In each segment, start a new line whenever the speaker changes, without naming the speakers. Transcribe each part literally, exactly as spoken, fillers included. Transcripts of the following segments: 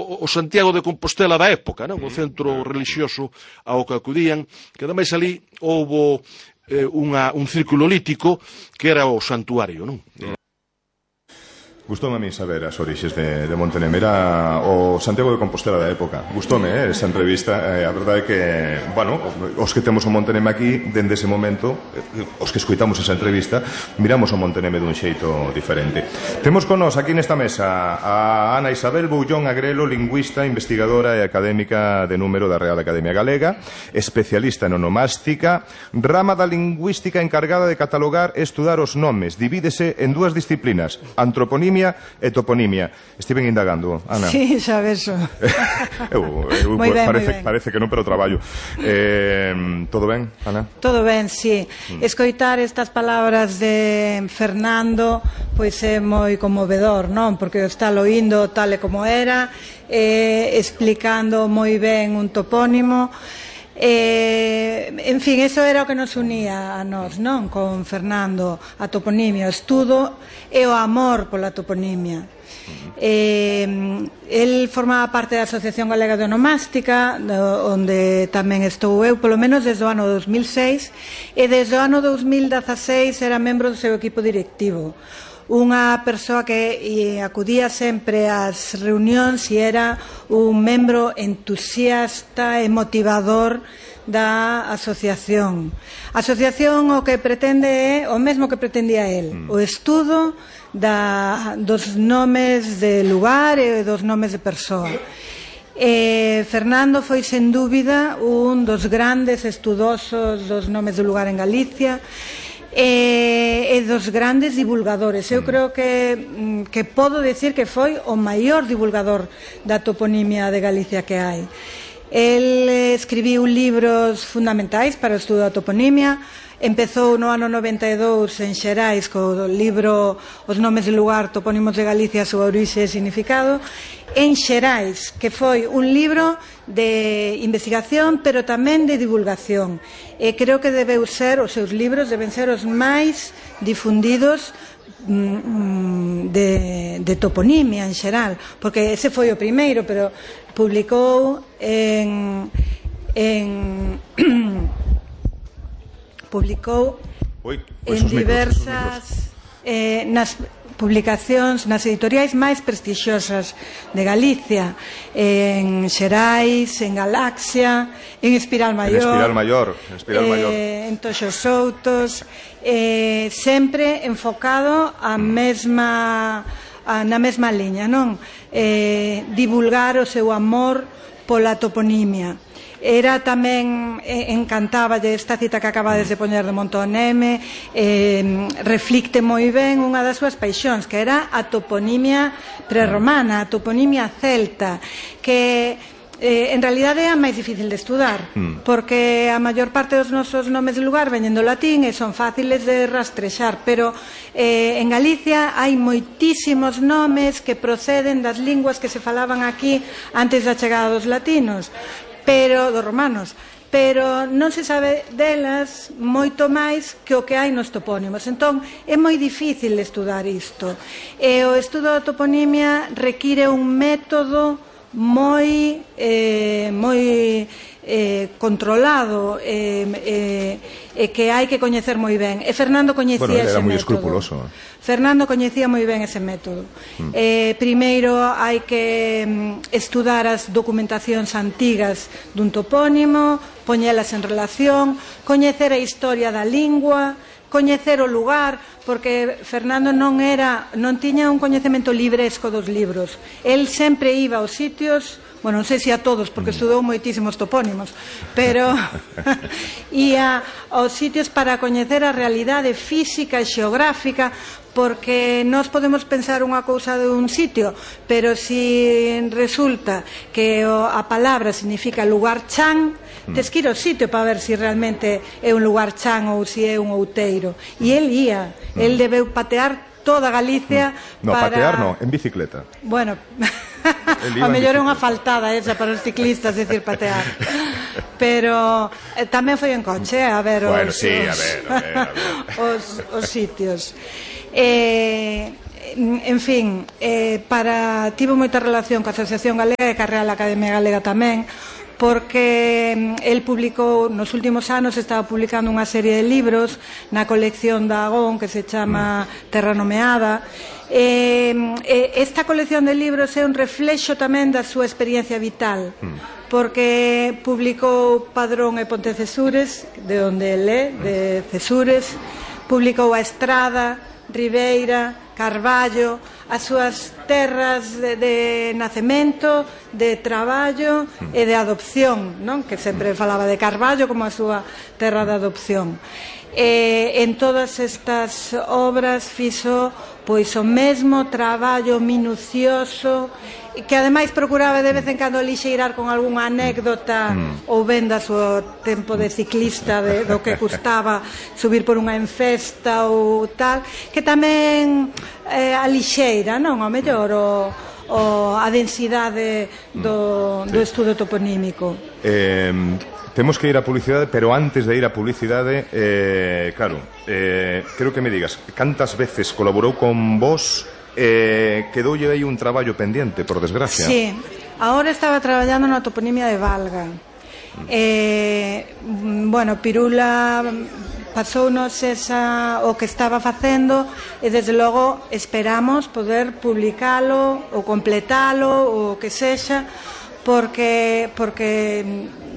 o Santiago de Compostela da época, non? O centro religioso ao que acudían, que ademais ali houbo eh, unha, un círculo lítico que era o santuario, non?
Gustoume a mí saber as orixes de, de Monteneme. Era o Santiago de Compostela da época. Gustoume, eh, esa entrevista. eh, A verdade é que, bueno, os que temos o Monteneme aquí, dende ese momento, eh, os que escoitamos esa entrevista, miramos o Monteneme dun xeito diferente. Temos con nós aquí nesta mesa a Ana Isabel Boullón Agrelo, lingüista, investigadora e académica de número da Real Academia Galega, especialista en onomástica, rama da lingüística encargada de catalogar e estudar os nomes. Divídese en dúas disciplinas, antroponimia e toponimia. Estiven indagando, Ana.
Sí, xa ves.
eu, eu,
Moi ben,
parece,
moi ben.
parece que non, pero traballo. Eh, todo ben, Ana?
Todo ben, sí. Mm. Escoitar estas palabras de Fernando pois é moi conmovedor, non? Porque o está loindo tal e como era, eh, explicando moi ben un topónimo. Eh, en fin, eso era o que nos unía a nós, non? Con Fernando, a toponimia, o estudo e o amor pola toponimia. Eh, el formaba parte da Asociación Galega de Onomástica, do, onde tamén estou eu, polo menos desde o ano dos mil seis, e desde o ano dos mil dezaseis era membro do seu equipo directivo. Unha persoa que acudía sempre ás reunións e era un membro entusiasta e motivador da asociación. A asociación o que pretende é o mesmo que pretendía el, o estudo da, dos nomes de lugar e dos nomes de persoa. Eh, Fernando foi sen dúbida un dos grandes estudosos dos nomes de lugar en Galicia e, e dos grandes divulgadores. Eu creo que, que podo decir que foi o maior divulgador da toponimia de Galicia que hai. El escribiu libros fundamentais para o estudo da toponimia. Empezou no ano noventa e dous en Xerais co libro Os nomes de lugar, topónimos de Galicia, a súa orixe e significado, en Xerais, que foi un libro de investigación pero tamén de divulgación, e creo que debeu ser, os seus libros deben ser os máis difundidos de, de toponimia en xeral, porque ese foi o primeiro, pero publicou en en publicou
Oi,
en diversas eh, nas publicacións, nas editoriais máis prestixiosas de Galicia, en Xerais, en Galaxia, en Espiral Maior,
en Espiral Maior, en, Espiral
eh,
Maior.
en Toxos Soutos, eh, sempre enfocado a mesma, a, na mesma liña, non? Eh, divulgar o seu amor pola toponimia. Era tamén, eh, encantaba de esta cita que acabades de poñer de Monteneme, eh, reflicte moi ben unha das súas paixóns, que era a toponimia prerromana, a toponimia celta, que eh, en realidade é a máis difícil de estudar, mm. porque a maior parte dos nosos nomes de lugar veñen do latín e son fáciles de rastrexar, pero eh, en Galicia hai moitísimos nomes que proceden das linguas que se falaban aquí antes da chegada dos latinos, pero dos romanos, pero non se sabe delas moito máis que o que hai nos topónimos. Entón, é moi difícil estudar isto. E o estudo da toponimia require un método moi eh, moi eh, controlado e eh, eh, que hai que coñecer moi ben. E Fernando coñecía
bueno,
ese
era moi
método.
escrupuloso.
Fernando coñecía moi ben ese método. Mm. Eh, primeiro hai que mm, estudar as documentacións antigas dun topónimo, poñelas en relación, coñecer a historia da lingua, coñecer o lugar, porque Fernando non era, non tiña un coñecemento libresco dos libros. El sempre iba aos sitios, bueno, non sei se a todos, porque estudou moitísimos topónimos, pero ia aos sitios para coñecer a realidade física e xeográfica, porque nós podemos pensar unha cousa de un sitio, pero se resulta que a palabra significa lugar chan, tes que ir ao sitio para ver se realmente é un lugar chan ou se é un outeiro. E el ia, el debeu patear toda Galicia.
No,
para...
patear no, en bicicleta.
Bueno, a mellor é unha faltada esa para os ciclistas, decir patear. Pero eh, tamén foi en coche, a ver os,
bueno, sí,
os,
a ver, a ver, a ver.
os, os sitios. Eh, en fin, eh, para tivo moita relación coa Asociación Galega e coa Real Academia Galega tamén, porque el publicou, nos últimos anos estaba publicando unha serie de libros na colección da Agón que se chama Terra Nomeada. Eh, esta colección de libros é un reflexo tamén da súa experiencia vital, porque publicou Padrón e Pontecesures, de onde el é, de Cesures, publicou a Estrada, Ribeira, Carballo, as súas terras de, de nacemento, de traballo e de adopción, non? Que sempre falaba de Carballo como a súa terra de adopción. E en todas estas obras fixo pois o mesmo traballo minucioso, que ademais procuraba de vez en cando lixeirar con algunha anécdota mm. ou ben da súa tempo de ciclista, de, do que custaba subir por unha enfesta ou tal, que tamén eh, a lixeira, non? Ao mellor o, o a densidade do, do estudo toponímico.
Eh... Temos que ir a publicidade, pero antes de ir a publicidade, eh, claro, eh, creo que me digas, cantas veces colaborou con vos, eh, quedoulle aí un traballo pendiente, por desgracia?
Sí, agora estaba traballando na toponimia de Valga. Eh, bueno, Pirula pasounos esa, o que estaba facendo e desde logo esperamos poder publicalo ou completalo ou o que sexa, porque porque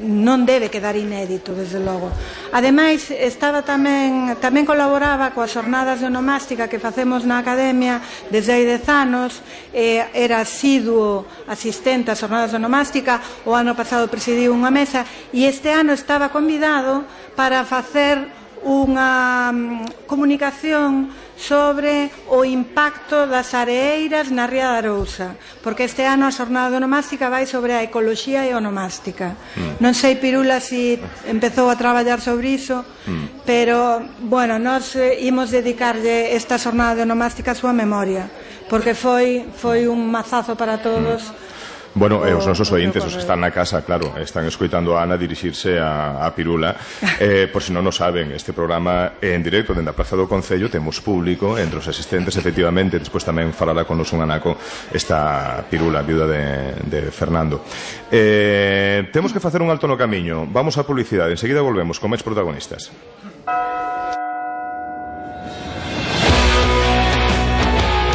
non debe quedar inédito, desde logo. Ademais, estaba tamén tamén colaboraba coas xornadas de onomástica que facemos na Academia desde hai dez anos, eh, era asiduo asistente ás xornadas de onomástica, o ano pasado presidiu unha mesa e este ano estaba convidado para facer unha um, comunicación sobre o impacto das areeiras na Ría de Arousa, porque este ano a xornada de onomástica vai sobre a ecoloxía e onomástica. Mm. Non sei, Pirula, si empezou a traballar sobre iso, mm. pero, bueno, nós eh, imos dedicarlle esta xornada de onomástica a súa memoria, porque foi foi un mazazo para todos. Mm.
Bueno, eh, os nosos ointes, os que están na casa, claro, están escoitando a Ana dirixirse a, a Pirula. Eh, por si non o saben, este programa é en directo dende a Praza do Concello, temos público entre os asistentes, efectivamente, despois tamén falará con nos un anaco esta Pirula, viuda de, de Fernando. Eh, temos que facer un alto no camiño, vamos á publicidade, enseguida volvemos con máis protagonistas.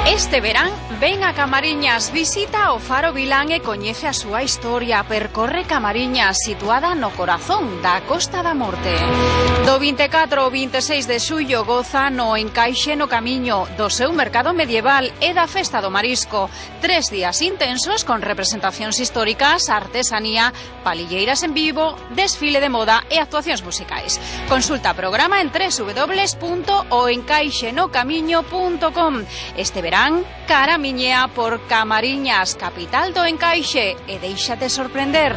Este verán, ven a Camariñas, visita o Faro Vilán e coñece a súa historia. Percorre Camariñas, situada no corazón da Costa da Morte. Do vinte e catro ao vinte e seis de xullo goza no Encaixe no Camiño, do seu mercado medieval e da Festa do Marisco. Tres días intensos con representacións históricas, artesanía, palilleiras en vivo, desfile de moda e actuacións musicais. Consulta programa en doble u doble u doble u punto o encaixe no camiño punto com. Este verán, caramiñea por Camariñas, capital do Encaixe, e déixate sorprender.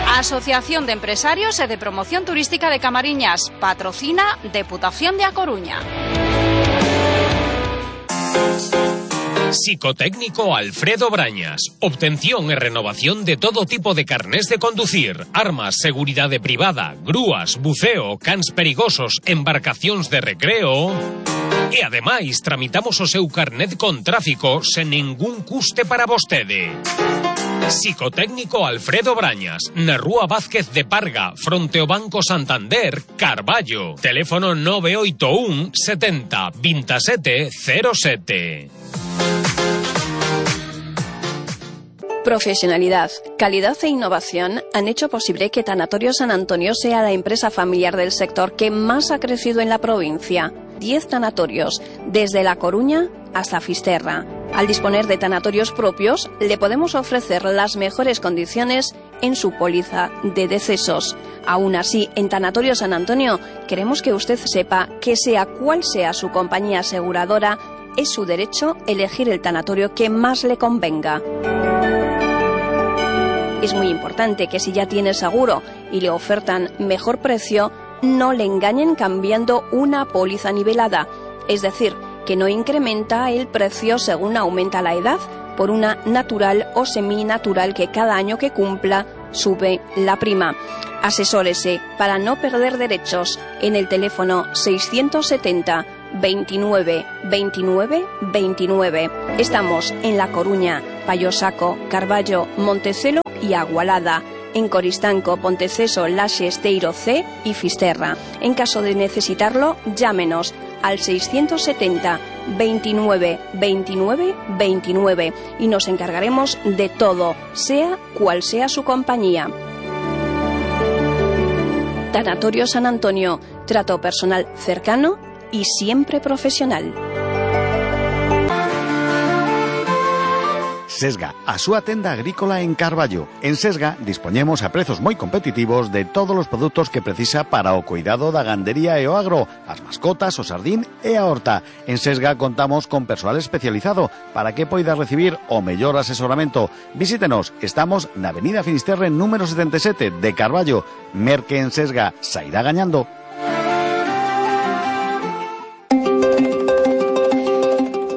A Asociación de Empresarios e de Promoción Turística de Camariñas patrocina Deputación de A Coruña.
Psicotécnico Alfredo Brañas. Obtención e renovación de todo tipo de carnés de conducir, armas, seguridade privada, grúas, buceo, cans perigosos, embarcacións de recreo. E ademais tramitamos o seu carnet con tráfico sen ningún custe para vostede. Psicotécnico Alfredo Brañas, na Rúa Vázquez de Parga, fronte ao Banco Santander, Carballo. Teléfono nove oito un setenta veintisiete cero sete.
Profesionalidad, calidad e innovación han hecho posible que Tanatorio San Antonio sea la empresa familiar del sector que más ha crecido en la provincia. Diez tanatorios, desde La Coruña hasta Fisterra. Al disponer de tanatorios propios, le podemos ofrecer las mejores condiciones en su póliza de decesos. Aún así, en Tanatorio San Antonio, queremos que usted sepa que sea cual sea su compañía aseguradora, es su derecho elegir el tanatorio que más le convenga. Es muy importante que si ya tiene seguro y le ofertan mejor precio, no le engañen cambiando una póliza nivelada, es decir, que no incrementa el precio según aumenta la edad por una natural o seminatural que cada año que cumpla sube la prima. Asesórese para no perder derechos en el teléfono seiscientos setenta, veintinueve veintinueve veintinueve. Estamos en La Coruña, Payosaco, Carballo, Montecelo y Agualada. En Coristanco, Ponteceso, Laxe, Esteiro C y Fisterra. En caso de necesitarlo, llámenos al seiscientos setenta veintinueve veintinueve veintinueve y nos encargaremos de todo, sea cual sea su compañía. Tanatorio San Antonio, trato personal cercano y siempre profesional.
Sesga, a súa tenda agrícola en Carballo. En Sesga dispoñemos a prezos moi competitivos de todos os produtos que precisa para o cuidado da gandería e o agro, as mascotas, o sardín e a horta. En Sesga contamos con persoal especializado para que poida recibir o mellor asesoramento. Visítenos, estamos na Avenida Finisterre número setenta e sete de Carballo. Merque en Sesga, sairá gañando.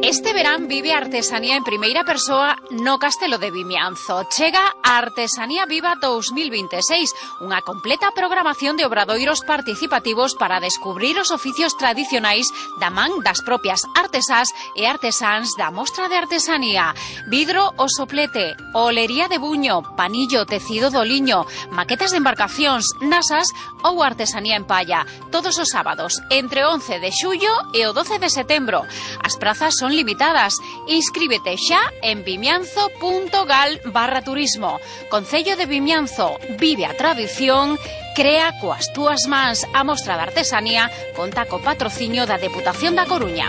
Este verán vive a artesanía en primeira persoa no Castelo de Vimianzo. Chega a Artesanía Viva dos mil veintiséis, unha completa programación de obradoiros participativos para descubrir os oficios tradicionais da man das propias artesás e artesáns da mostra de artesanía. Vidro o soplete, olería de buño, panillo, tecido do liño, maquetas de embarcacións, nasas ou artesanía en palla. Todos os sábados, entre o once de xullo e o doce de setembro. As prazas son limitadas. Inscríbete xa en vimianzo punto gal barra turismo. Concello de Vimianzo, vive a tradición, crea coas túas mans. A mostra de artesanía conta co patrocinio da Deputación da Coruña.